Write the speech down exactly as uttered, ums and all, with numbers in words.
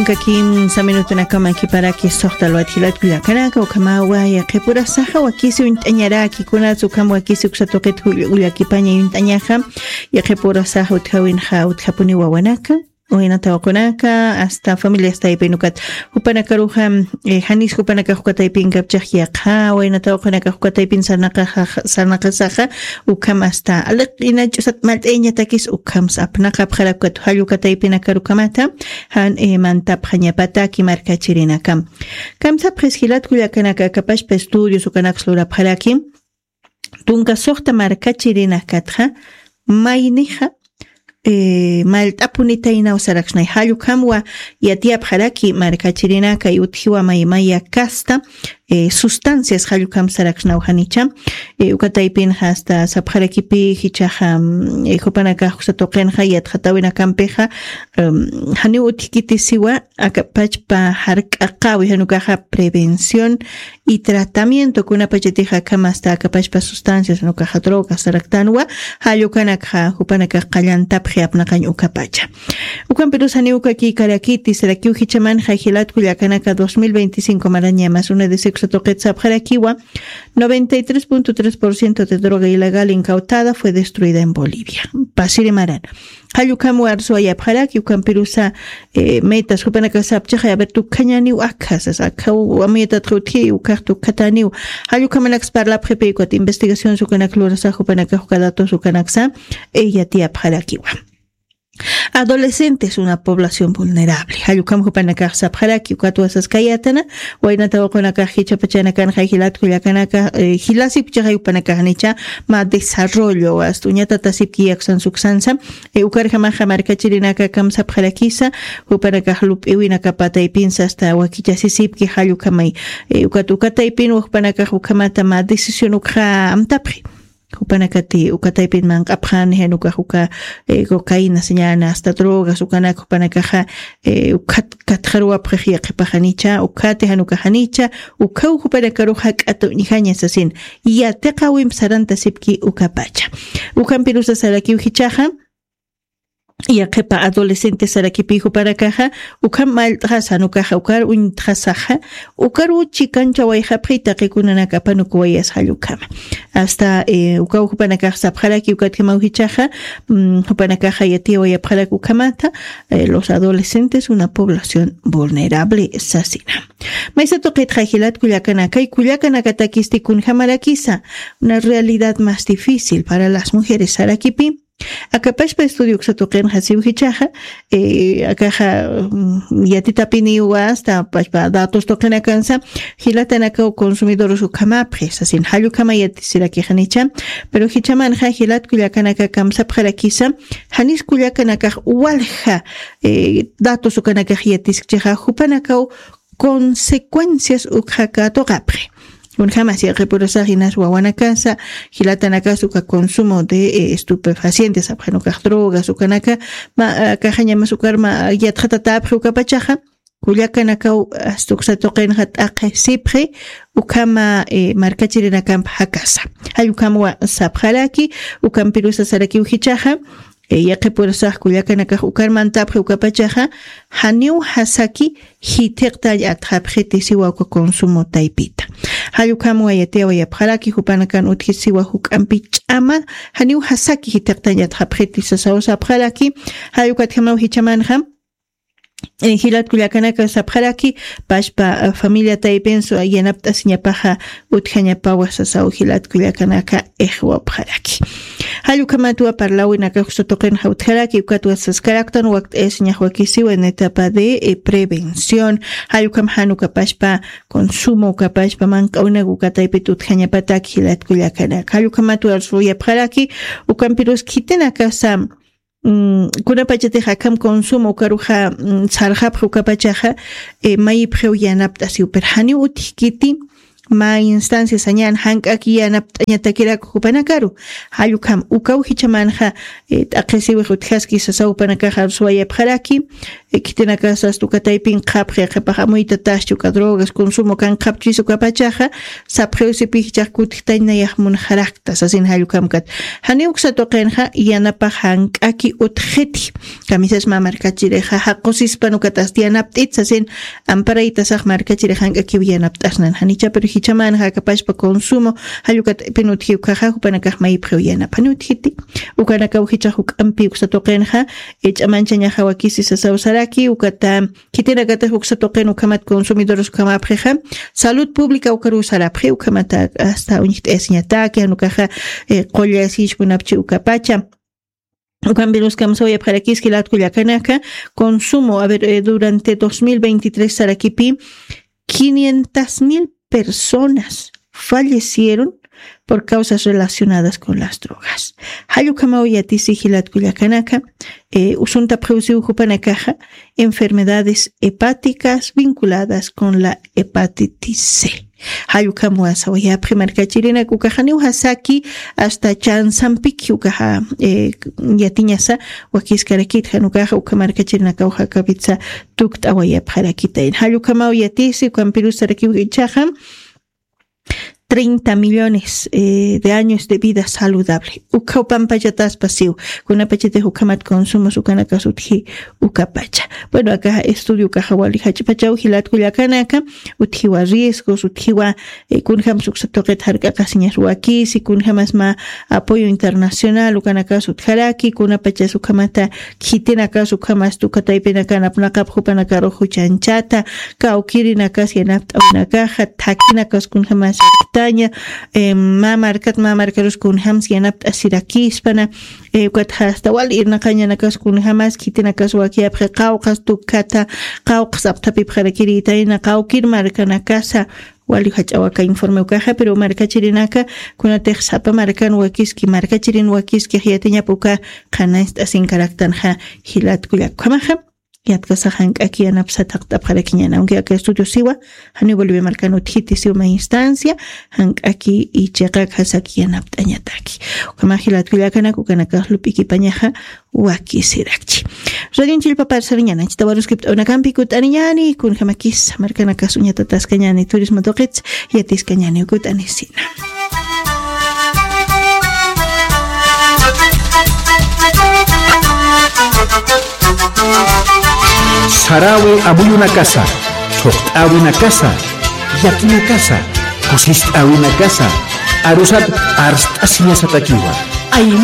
Kimsa minutunakaman kiparaki suxta luwat jilat kullakanaka, ukhamawa yaqhipurasaxa wakisi uñt'añaraki, kunatsa ukham wakisi uksa tuqit ullakipaña uñt'añaxa. Yaqhipurasaxa utjawinxa utjapuni wawanaka, waynata waqunaka, hasta familias taypin ukat jupanakaruxa, janis jupanakax uka taypin kapchax yaqha, waynata waqunakax uka taypin sarnaqasaxa, ukham hasta aliq ina ch'usat malt'ayañatakis ukhamsa apnaqapxarak ukat jall uka taypinakar ukhamata jan mantapxañapataki markachirinakam. Kamsapxis jilat kullakanaka, akapachpa estudios ukanaksa lurapxaraki tunka suxta markachirinakatxa maynixa mallt'apunitaynaw saraksnay. Jall ukhamwa yatiyapxaraki markachirinaka utjiwa maymaya kasta sustancias jall ukham saraksnaw janicha. Uka taypinxa hasta sapxarakipi jichhaxa jupanakax uksa tuqinxa yatxatawinakampixa janiw utjkitisiwa akapachpa jark'aqawi, jan ukaxa prevención y tratamiento, kunapachatixa akham hasta akapachpa sustancias, jan ukaxa drogas saraktanwa, jall ukanakxa jupanakax qallantapxi apnaqañ ukapacha. Ukampirus janiw uka kïkarakiti sarakiw jichhamanxa jilat kullakanaka, dos mil veinticinco maraña más una de sexo tuqit sapxarakiwa, noventa y tres punto tres por ciento de droga ilegal incautada fue destruida en Bolivia. Pasiri maran. Jall ukham warsuwayapxaraki, ukampirusa metas jupanakax sapchaxa, a ver, tukjañaniw akha sasa, akhaw amuyatatkha utji, ukax tukjataniw. Jall ukhamanaksa parlapxipi ukat investigaciones ukanak lurasa jupanakax uka datos ukanaksa yatiyapxarakiwa. Adolescentes, una población vulnerable. Jall ukham jupanakax sapxaraki, ukatwa saskayätana, waynata waqunakax jichhapachanakanxa jilat kullakanaka, jilasipchaxa jupanakax janicha mä desarrollo, hasta uñatatasipki yaksan suksansa. Ukarjamaxa markachirinaka kamsapxarakisa, jupanakax lup'iwinakapa taypinsa hasta wakichasisipki jall ukhamay. Ukat uka taypinwa jupanakax ukhamata mä decisión ukxa amtapxi. Jupanakati uka taypin manq'apxani, jan ukax uka cocaína, sañäni hasta drogas ukanak jupanakaxa ukhat katxaruwapxix yaqhipax janicha, ukhati jan ukax janicha, ukhaw jupanakaruxa k'ata uñjaña sasin. Yatiqawimp sarantasipki ukapacha. Ukampirusa sarakiw jichhaxa yaqhipa adolescentes sarakipi jupanakaxa ukham mallt'xasa, jan ukaxa ukar uñtxasaxa, ukaruw chikanchawayxapxi taqi kunanak apanukuwayas jall ukhama. Hasta ukaw jupanakax sapxaraki ukatjamaw jichhaxa, jupanakaxa yatiyawayapxarak ukhamata, los adolescentes, una población vulnerable sasina. Maysa tuqitxa jilat kullakanakay, kullakanakatakisti kunjamarakisa, una realidad más difícil para las mujeres sarakipi. Akapachpa estudio uksa tuqinxa siw jichhaxa, akaxa yatitapiniwa hasta pachpa datos tuqinakansa, jilatanakaw consumidores ukhamapxi sasin, jall ukhama yatisiraki janicha. Pero jichhamanxa jilat kullakanaka kamsapxarakisa, janis kullakanakax walja datos ukanakax yatiskchixa, jupanakaw consecuencias ukxa katuqapxi. Kunjamas yaqhipurasax inas wawanakasa, jilatanakas uka consumo de estupefacientes, apxan ukax drogas ukanaka, ma akaxañamas ukar ma yatxatatäpxi ukapachaxa, kullakanakaw hasta uksa tuqinxa t'aqhisipxi ukhama markachirinakamp jakasa. Jall ukhamwa sapxaraki, ukampirusa sarakiw jichhaxa, yaqhipurasax kullakanakax ukar mantapxi ukapachaxa, janiw jasaki jithiqtañ atxapxiti siwa uka consumo taypita. Jall ukhamwa yatiyawayapxaraki, jupanakan utji siwa juk'ampi ch'ama, janiw jasaki jithiqtañ atxapxiti sasaw sapxaraki. Jall ukatjamaw jichhamanxa jilat kullakanaka sapxaraki, pachpa familia taypinsu yanapt'asiñapaxa utjañapawa sasaw jilat kullakanaka ixwapxaraki. Jall ukhamatwa parlawinakax uksa tuqinxa utjaraki, ukatwa saskaraktan wakt'ayasiñax wakisiwa en etapa de prevención. Jall ukham jan ukapachpa consumo, ukapachpa manq'awinak uka taypit utjañapatak jilat kullakanaka. Jall ukhamatwa arsuyapxaraki, ukampirus khitinakasa kunapachatix akham consumo ukaruxa sarxapxi ukapachaxa, mayipxiw yanapt'asiw, pero janiw utjkiti mä instancia sañan jank'aki yanapt'añatakiraku jupanakaru. Jallukam ukaw jichamanxa, eh, t'aqisiwix utjaski sasaw jupanakaxa arsuwayapxaraki, eh, khitinakasas tukataypin qhapxi qhipax amuytataschu uka drogas consumo kan qhapchis ukapachaxa, sapxiw sipi jichax kutjtañnayax munxarakta sasin jallukamkat. Janiw uksa tuqinxa yanapax jank'aki utjxiti. Kamisas mä markachirixa jaqusispan ukatasti yanapt'it sasin, amparaytasax markachirix jank'akiw yanapt'asnan janicha pero jichaman jakapashpa consumo, jallukat'ipin utji ukaxa jupanakax maypxiw yanapani utjiti. Ukanakaw jichax juk'ampi uksa tuqinxa, eh, ch'amanchañaxa wakisi sasaw saraki ukata, khitinakatix uksa tuqin ukhamat consumidores ukhamapxixa, salud pública ukaruw sarapxi ukhamata hasta uñjt'ayasiñataki janukaxa, eh, qullasïch munapchi ukapacha. Ukan virus kamsawayapxarakis jilatku llakanaka, consumo, a ver, eh, durante dos mil veintitrés sarakipi quinientas mil personas fallecieron por causas relacionadas con las drogas. Jallukamaw yatisi jilatku llakanaka, eh, usuntapxiwsiw jupanakaxa enfermedades hepáticas vinculadas con la hepatitis C. Jallukam wasawayapxi markachirinak ukaxaniw jasaki hasta chansampiki ukaxa, eh, yatiñasa wakiskarakit janukaxa uka markachirinakaw jakapitsa tukt'awayapxarakitayn. Jallukamaw yatisi ukampirusarakiw ichaxa treinta millones, eh, de años de vida saludable. Ukhaw pampachataspa siw. Kunapachatix ukhamat consumos ukanakas utji ukapacha. Bueno, akaxa estudio ukaxa wali jach'pachaw jilatku llakanaka, utjiwa riesgos, utjiwa, eh, kunjamas uksa tuqit jark'aqasiñas wakisi, kunjamas mä apoyo internacional ukanakas utjaraki, kunapachas ukhamata khitinakas ukhamas tukataypinakan apnaqapxi jupanakarux juchanchata, kawkirinakas yanapt'awinakaxa, thakinakas kunjamas aktaña, eh, mä markat mä markarus kunjamas yanapt'asirakispana, eh, ukat hasta wal irnaqañanakas kunjamas khitinakas wakiyapxi qawqhas tukkata, qawqhas apthapipxarakirïtayna, qawkir markanakasa, wali jach'awaka informe ukaxa, pero markachirinaka, kunatix sapa markan wakiski, markachirin wakiski, jiyatiñap uka qhanañcht'asinkaraktanxa jilatku llakukhamaxa, yatkasax jank'aki yanapsa thaqt'apxarakiñana, aunque aka estudio siwa, janiw Bolivia markan utjiti siw mä instancia, jank'aki y chiqak jasaki yanapt'añataki. Ukhamax jilatku llakanak ukanakax lup'ikipañaxa, wakisirakchi. Radionchillpa parsariñana, chita waruskipt'awnakampi kut'aniñani, kunjamakis, markanakas uñatataskañani, turismo tuqits, yatiskañani, kut'anisina. Sarawi amuyunakasa, thuqt'awinakasa, yakinakasa, kusist'awinakasa, arusat arst'asiñasatakiwa. Ayma